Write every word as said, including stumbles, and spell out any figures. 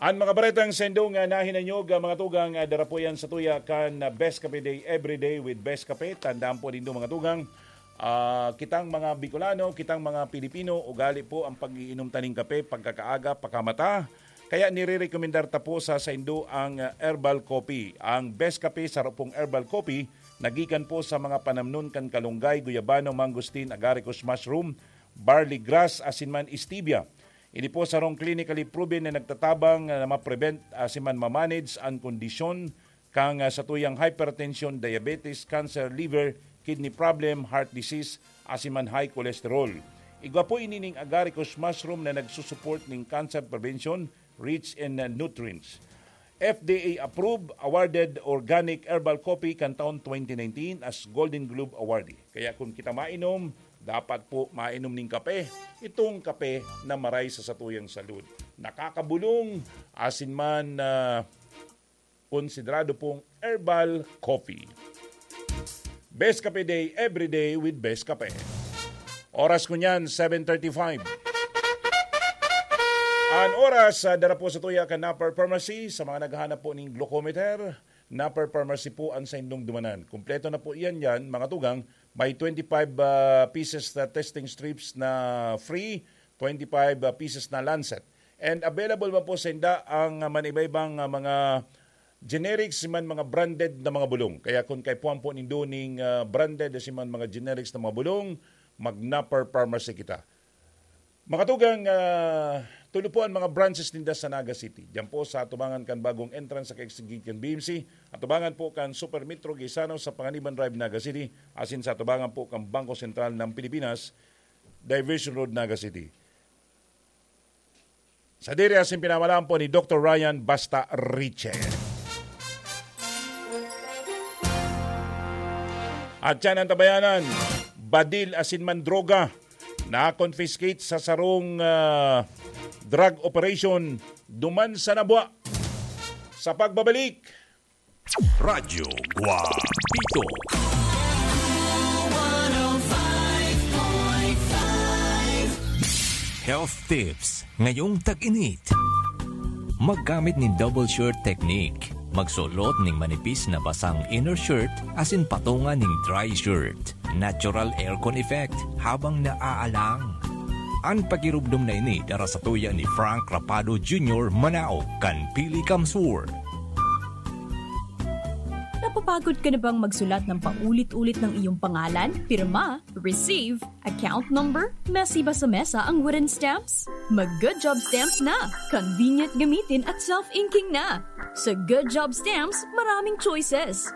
An mga baretang saindo nga nahinanyog, ah, mga tugang, ah, dara po yan sa tuya kan, ah, Best Kape Day, Every Day with Best Kape. Tandaan po nindo, mga tugang, ah, kitang mga Bicolano, kitang mga Pilipino, ugali po ang pag-iinom ta ning kape pagkakaaga, pakamata. Kaya nirerekomendar ta po sa saindo ang, ah, herbal coffee. Ang Best Kape, saro pong herbal coffee, nagikan po sa mga panamnon kan kalunggay, guyabano, mangosteen, agaricus mushroom, barley grass, asin man stevia. Ini po sarong clinically proven na nagtatabang na ma-prevent asin man ma-manage an kondisyon kan, ah, satuyang hypertension, diabetes, cancer, liver, kidney problem, heart disease, asin man high cholesterol. Igwa po ini ning agaricus mushroom na nagsusupport ning cancer prevention, rich in, ah, nutrients. F D A approved, awarded organic herbal coffee kan taon twenty nineteen as Golden Globe awardee. Kaya kung kita mainom, dapat po mainom ning kape. Itong kape na maray sa satuyang salud. Nakakabulong, asin man, ah, konsiderado pong herbal coffee. Best Kape Day, every day with Best Kape. Oras ko niyan, seven thirty-five. An oras, ah, dara po sa tuya kan Napper Pharmacy. Sa mga naghahanap po ning glucometer, Napper Pharmacy po an saindong dumanan. Kompleto na po iyan diyan, mga tugang. May twenty-five, ah, pieces na testing strips na free, twenty-five, ah, pieces na lancet. And available man po sa inda ang, ah, manibaybang, ah, mga generics man mga branded na mga bulong. Kaya kung kaipuhan po nindo ning, ah, branded asin man mga generics na mga bulong, mag-Napper Pharmacy kita. Mga tugang, ah, tulo po ang mga branches ninda sa Naga City. Diyan po sa atubangan kan bagong entrance sa kaigsigig kan B M C, atubangan po kan Super Metro Gaisano sa Panganiban Drive, Naga City, asin sa atubangan po kan Bangko Sentral ng Pilipinas, Diversion Road, Naga City. Sadiri asin pinamalaan po ni Doktor Ryan Basta Riche. At yan ang tabayanan, badil asin man droga, na-confiscate sa sarong, ah, drug operation duman sa Nabua. Sa pagbabalik, Radyo Guapito. Health tips ngayong tag-init. Maggamit nin double shirt technique. Magsulot nin manipis na basang inner shirt asin patunga nin dry shirt. Natural aircon effect habang naaalang. An pagirubdom na ini dara sa tuya ni Frank Rapado Junior, manaog kan Pili Kamsur. Napapagod ka na bang magsulat ng paulit-ulit ng iyong pangalan, pirma, receive, account number, mesi ba sa mesa ang wooden stamps? Mag Good Job Stamps na! Convenient gamitin at self-inking na! Sa Good Job Stamps, maraming choices.